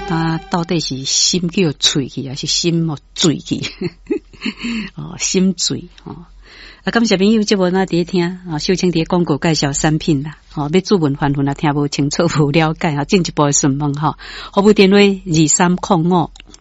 他到底是心叫碎去，還是心哦醉去？哦，心醉哦。啊，感謝朋友這無哪佇咧聽啊，秀清佇咧廣告介紹產品啦。吼，欲主問反問啊，聽無清楚無了解啊，進一步的詢問吼，服務電話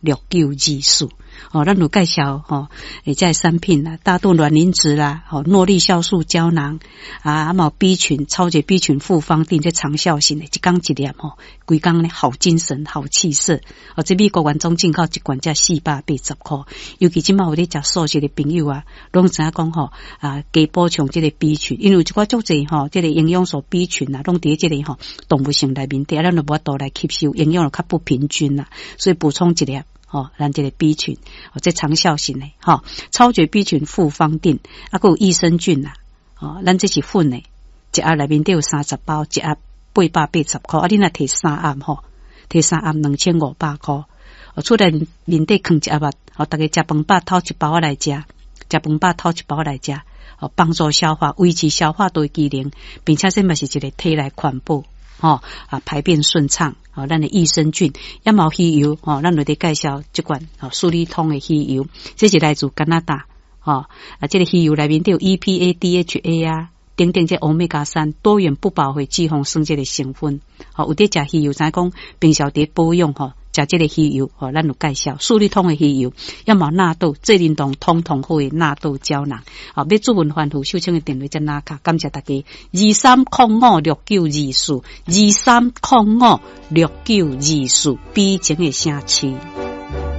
23056924。哦，咱有介紹吼，會這個產品啦，大豆卵磷脂啦，吼，諾麗酵素膠囊啊，啊嘛有 B 群超級 B 群複方錠，這長效型的，一工一粒吼，規工呢好精神好氣色。哦，這美國原裝進口一罐才480箍，尤其這馬有咧食素食的朋友啊，攏知影講吼啊，加補充這個 B 群，因為有一寡足濟吼，這個營養素 B 群啊，攏佇這個吼動物性內面底，咱就無法度來吸收，營養就較不平均啦，所以補充一粒。吼，咱這個 B 群，哦，這長效型的，吼，超絕 B 群複方錠，啊，閣有益生菌啦，哦，咱這是粉的，一盒內面底有30包，一盒880箍，啊，你若提三盒吼，提三盒2500箍，哦，厝內面底囥一盒啊，哦，逐家食飯飽掏一包來食，食飯飽掏一包來食，哦，幫助消化，維持消化道機能，並且這嘛是一個體內環保。吼啊，排便順暢，吼，咱的益生菌，也嘛有魚油，吼，咱有佇介紹這罐吼，舒利通的魚油，這是來自加拿大，吼啊，這個魚油內面都有 EPA、DHA 啊，等等，這歐米伽三多元不飽和脂肪酸這個成分，吼，有佇食魚油，知影講平常佇保養吼，食這個魚油，吼，咱有介紹舒利通的魚油，也嘛納豆，濟靈動通通好的納豆膠囊，好，欲主問反覆秀清的電話才拿卡，感謝大家，23056924，23056924，比前的城市。